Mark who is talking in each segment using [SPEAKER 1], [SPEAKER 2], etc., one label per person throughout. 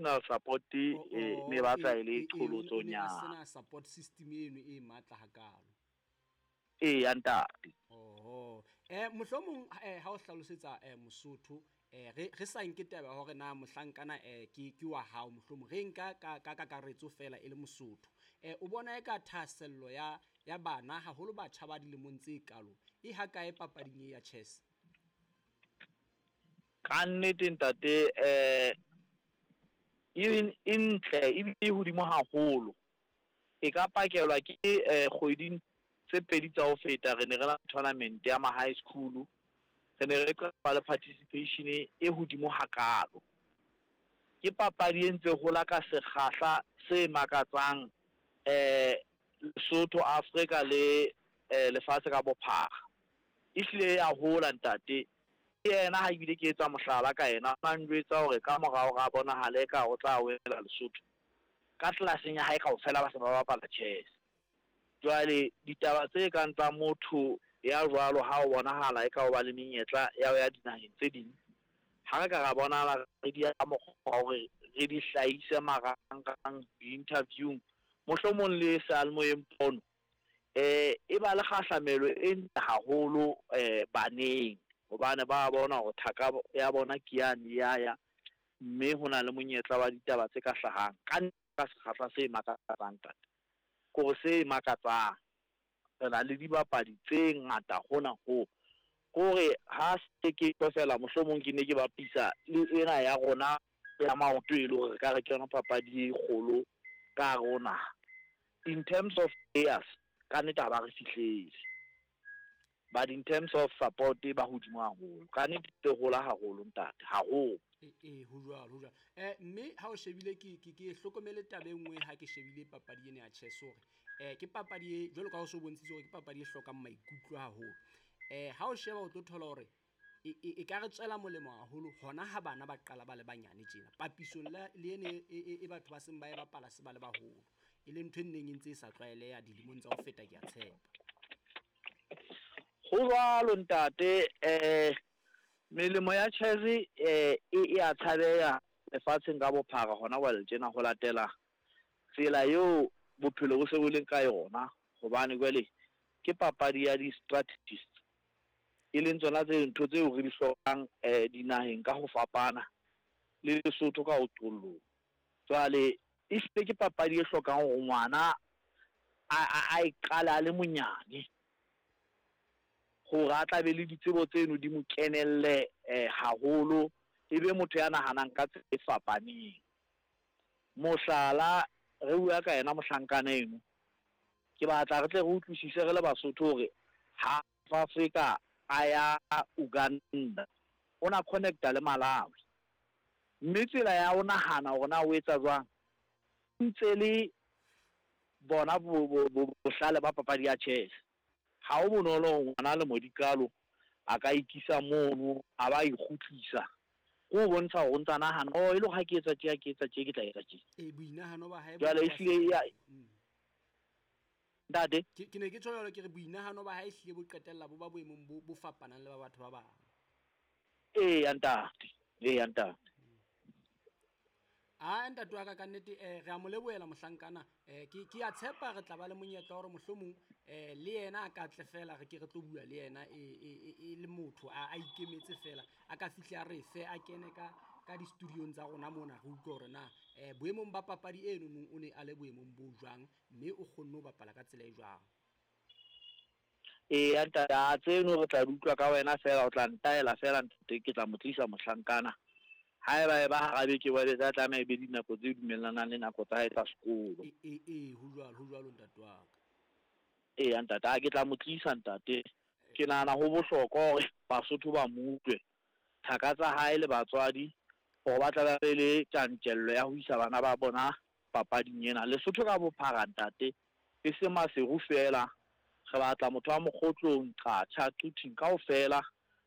[SPEAKER 1] Emotional support e ne batla e le
[SPEAKER 2] qholotsonyana. O ne a sena support system eno e matla hakalo.
[SPEAKER 1] Eya ntate.
[SPEAKER 2] Oho. Mohlomong ha o hlalosetsa Mosotho, re sa nke taba ya hore na mohlankana ke wa hao, mohlomong re nka ka kakaretso fela e le Mosotho. O bona eka thahasello ya bana haholo batjha ba dilemong tse kalo e hakae papading e ya chess?
[SPEAKER 1] Ka nnete ntate, e ntle ebile e hodimo haholo. E ka pakelwa ke kgweding tse pedi tsa ho feta, re ne re na tournament ya ma high school. Re ne re qala le participation e hodimo hakalo. Ke papadi e ntse hola ka sekgahla se makatsang, Lesotho, Afrika le lefatshe ka bophara. Ehlile ya hola ntate. Ke yena ha ebile ke etsa mohlala ka yena, a njwetsa hore ka morao ga bonahale ka o tla wela Lesotho. Ka tlelaseng ya hae kaofela ba se ba bapala chess. Jwale ditaba tse kang tsa motho ya jwalo ha o bonahala e ka o ba le menyetla ya ho ya dinaheng tse ding, ha re ka ra bonahala re di ya ka mokgwa wa hore re di hlahise marangrang di-interview-ing, mohlomong le seyalemoyeng pono, e ba le kgahlamelo e ntle haholo baneng, hobane ba bona hore thaka ya bona ke yane ya ya, mme ho na le monyetla wa ditaba tse ka hlahang ka ka sekgahla se makatsang ntate. Kore se makatsang, re na le dibapadi tse ngata hona ho. Kore ha se ke fela mohlomong ke ne ke bapisa le ena ya rona ya maoto, e le hore re ka re ke yona papadi e kgolo ka hare ho naha. In terms of players, ka nnete ha ba re fihlele. But in terms of support ba hodimo haholo. Ka nnete e hola haholo ntate, haholo.
[SPEAKER 2] E ho jwalo, ho jwalo. Mme ha o shebile ke hlokomele taba e nngwe ha ke shebile papadi ena ya chess hore ke papadi e jwalo ka ha o so bontshitse hore ke papadi e hlokang maikutlo haholo. Ha o sheba o tlo thola hore e ka re tswela molemo haholo hona ha bana ba qala ba le banyane tjena. Papisong le ene e batho ba seng ba e bapala se ba le baholo. E le ntho e neng e ntse e sa tlwaeleha dilemong tsa ho feta, ke a tshepa.
[SPEAKER 1] Ho jwalo ntate, melemo ya chess e a tshabeha lefatsheng ka bophara hona jwale tjena, ho latela tsela eo bophelo bo se bo leng ka yona, hobane jwale ke papadi ya di-strategists, e leng tsona tse ntho tseo re di hlokang dinaheng ka ho fapana le Lesotho ka ho qollong. Jwale ehlile ke papadi e hlokang hore ngwana a e qale a le monyane, hore a tla be le ditsebo tseno di mo kenelle haholo, e be motho ya nahanang ka tsela e fapaneng. Mohlala, re bua ka yena mohlankana eno, ke batla re tle re utlwisise re le Basotho hore ha Afrika a ya Uganda, o na connecta le Malawi. Mme tsela ya ho nahana hore na o etsa jwang, ntse le bona bohlale ba papadi ya chess. Ha ho bonolo hore ngwana le modikalo a ka ikisa mono, a ba ikgutlisa. Ke ho bontsha hore o ntsa nahana, oh, e le hore ha ke etsa tje, ha ke etsa tje, ke tla etsa tje.
[SPEAKER 2] Boinahano ba hae
[SPEAKER 1] Jwale ehlile ya ntate.
[SPEAKER 2] Ke ne ke tjho jwalo, ke re boinahano ba hae ehlile bo qetella bo ba boemong bo fapanang le ba batho ba bang.
[SPEAKER 1] Eya ntate, eya ntate.
[SPEAKER 2] A ntate wa ka nnete, re a mo lebohela mohlankana. Ke a tshepa re tla ba le monyetla hore mohlomong le yena a ka tle fela, re ke re tlo bua le yena e le motho a ikemetse fela, a ka fihle a re fe, a kene ka di-studiong tsa rona mona, re utlwe hore na boemong ba papadi eno nong o ne a le boemong bo jwang, mme o kgonne ho bapala ka tsela e jwang.
[SPEAKER 1] Eya ntate, a tseno re tla di utlwa ka wena fela, o tla ntaela fela ntate, ke tla mo tlisa mohlankana. Haeba e ba hara beke jwale, tla tlameha e be dinako tse dumellanang le nako tsa hae tsa sekolo.
[SPEAKER 2] E, ho jwalo, ho jwalo ntate wa ka.
[SPEAKER 1] Eya ntate, a ke tla mo tlisa ntate. Ke nahana ho bohlokwa hore Basotho ba mo utlwe, thaka tsa hae le batswadi, hore ba tla be le tjantjello ya ho isa bana ba bona papading ena. Lesotho ka bophara ntate, e se Maseru fela, re batla motho wa Mokgotlong, Qacha, Quthing kaofela.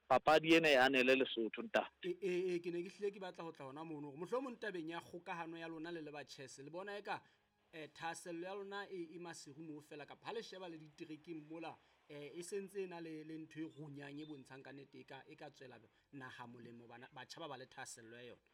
[SPEAKER 1] Papadi ena e anele Lesotho ntate.
[SPEAKER 2] E ke ne ke hlile ke batla ho tla hona mono hore mohlomong tabeng ya kgokahano ya lona le le ba chess, le bona eka thahasello ya lona e Maseru moo fela, kapa ha le sheba le diterekeng mola, e sentse e na le ntho e runyang e bontshang ka nnete e ka tswela naha molemo, bana batjha ba ba le thahasello ya yona.